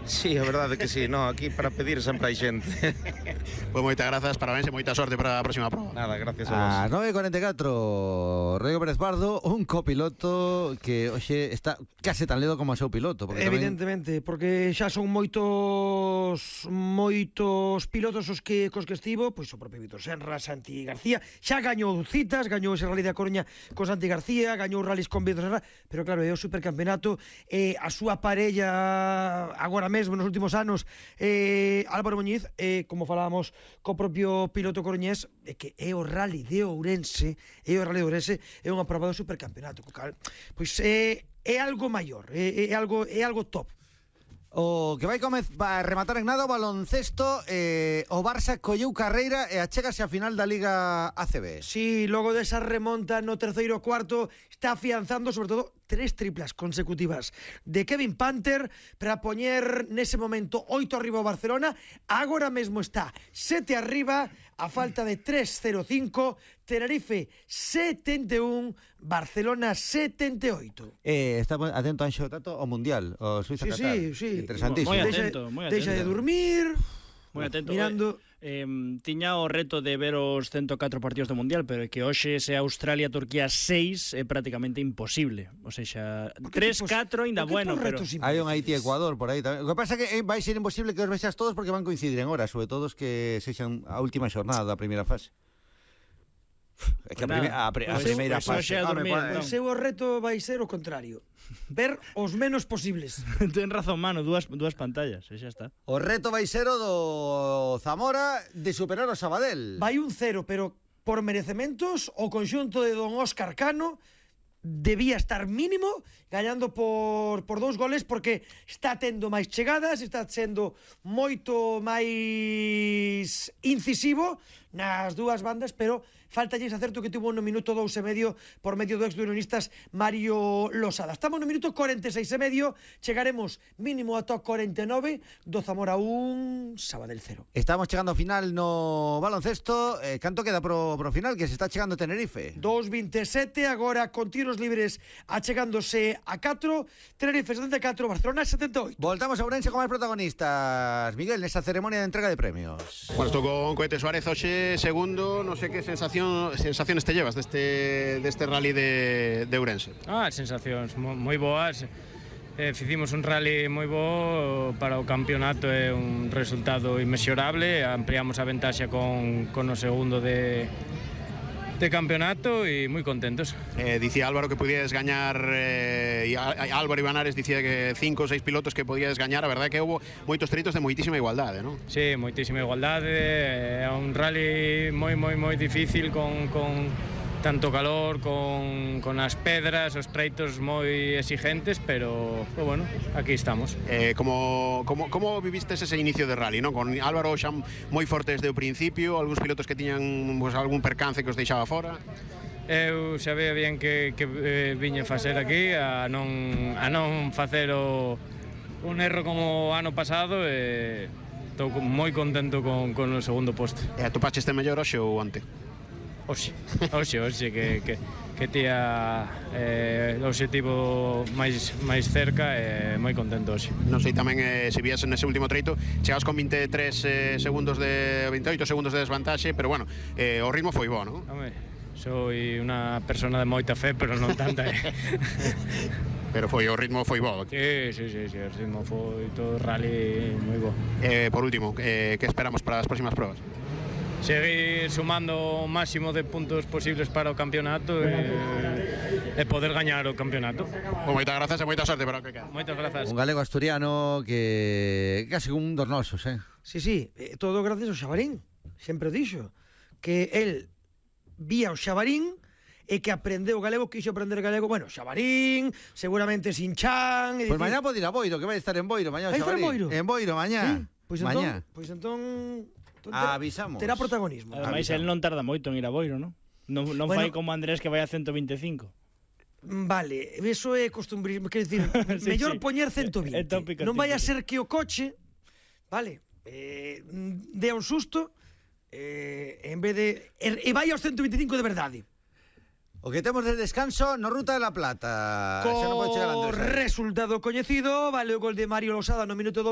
Sí, a verdade que sí, no, aquí para pedir sempre hai xente. Pois moitas grazas, parabéns e moita sorte para a próxima proba. Nada, gracias a vos. A 9:44, Rodrigo Pérez Pardo, un copiloto que hoxe está case tan ledo como o seu piloto, porque evidentemente, porque xa son moitos pilotos cos que estivo, pois o propio Vítor Senra, Santi García, xa gañou citas, gañou ese Rally da Coruña con Santi García, gañou rallies con Vítor Senra, pero claro, é o supercampeonato, a súa parella agora mesmo nos últimos anos, Álvaro Muñiz, como falábamos co propio piloto coruñés, que é o Rally de Ourense, é unha prova do supercampeonato, co cal, pois é algo maior, é algo top. o que vai rematar en nada o baloncesto, o Barça colleu carreira e achégase a final da Liga ACB. Sí, logo desa remonta no terceiro cuarto está afianzando sobre todo 3 triplas consecutivas de Kevin Panther para poñer nese momento 8 arriba o Barcelona. Agora mesmo está 7 arriba a falta de 3:05. Tenerife 71, Barcelona 78. Está atento Anxo Tato ao Mundial, o Suiza Qatar. Sí. Interesantísimo. Moi atento. Deixa de dormir. Moi atento. Mirando. Tiña o reto de ver os 104 partidos do Mundial, pero é que hoxe se Australia-Turquía 6 é prácticamente imposible. O sea, 3-4 ainda bueno, pero hai un Haití-Ecuador por aí tamén. O que pasa é que vai ser imposible que os vexas todos porque van coincidir en horas, sobre todo os que sexan a última xornada da primeira fase. É que a primeira fase o seu reto vai ser o contrario, ver os menos posibles. Ten razón, mano, dúas pantallas, e xa está. O reto vai ser o do Zamora de superar o Sabadell. Vai un 0, pero por merecementos o conxunto de don Óscar Cano debía estar mínimo gañando por 2 goles, porque está tendo máis chegadas, está sendo moito máis incisivo nas dúas bandas, pero faltalle ese acerto que tuvo no minuto 2,5 por medio do ex-unionistas Mario Losada. Estamos no minuto 46,5, chegaremos mínimo ata 49 do Zamora 1, Sabadell 0. Estamos chegando ao final no baloncesto. Canto queda pro final, que se está chegando Tenerife? 2:27, agora con tiros libres achegándose a 4, Tenerife 74, Barcelona 78. Voltamos a Ourense con máis protagonistas. Miguel, nesa ceremonia de entrega de premios. Bueno, estou con Cohete Suárez hoxe segundo, non sei que sensaciones te llevas deste rally de Ourense. Sensacións moi boas. Fizimos un rally moi bo para o campeonato, é un resultado inmexorable. Ampliamos a ventaxa con o segundo de campeonato e moi contentos. Dicía Álvaro que podías gañar, Álvaro Ibanares dicía que 5 ou 6 pilotos que podías gañar. A verdade é que houve moitos tritos de moitísima igualdade, non? Sí, moitísima igualdade. É un rally moi difícil con tanto calor, con as pedras, os treitos moi exigentes, pero bueno, aquí estamos. Como vivistes ese inicio de rally, non? Con Álvaro xa moi forte desde o principio, algúns pilotos que tiñan algún percance que os deixaba fora. Eu sabía bien que viña facer aquí a non facer un erro como o ano pasado, e estou moi contento con o segundo posto. E atopaste mellor hoxe ou onte? Hoxe que tía o objetivo máis cerca, e moi contento hoxe. Non sei tamén se vías nese último treito, chegas con 23 segundos de 28 segundos de desvantaxe, pero bueno, o ritmo foi bo, non? Home, soy unha persona de moita fe, pero non tanta. Pero o ritmo foi bo. Sí, o ritmo foi todo rally moi bo. Por último, que esperamos para as próximas probas? Seguir sumando o máximo de puntos posibles para o campeonato e poder gañar o campeonato. Moitas grazas e moita sorte para o que queda. Moitas grazas. Un galego asturiano que case un dos nosos, Sí, todo gracias ao Xabarín. Sempre dixo que el vía o Xabarín e que aprendeu galego, quixo aprender galego. Bueno, Xabarín, seguramente sin chan. Pois mañá pode ir a Boiro, que vai estar en Boiro mañá o Xabarín. En Boiro mañá. Pois entón avisamos. Terá protagonismo. Ademais, el non tarda moito en ir a Boiro, non? Non fai como Andrés, que vai a 125. Vale, eso é costumbrismo, quer dicir, mellor poñer 120. Non vai a ser que o coche, vale, dea un susto, en vez de e vai aos 125 de verdade. O que temos de descanso no Ruta de la Plata. Co resultado coñecido, vale o gol de Mario Losada no minuto 2.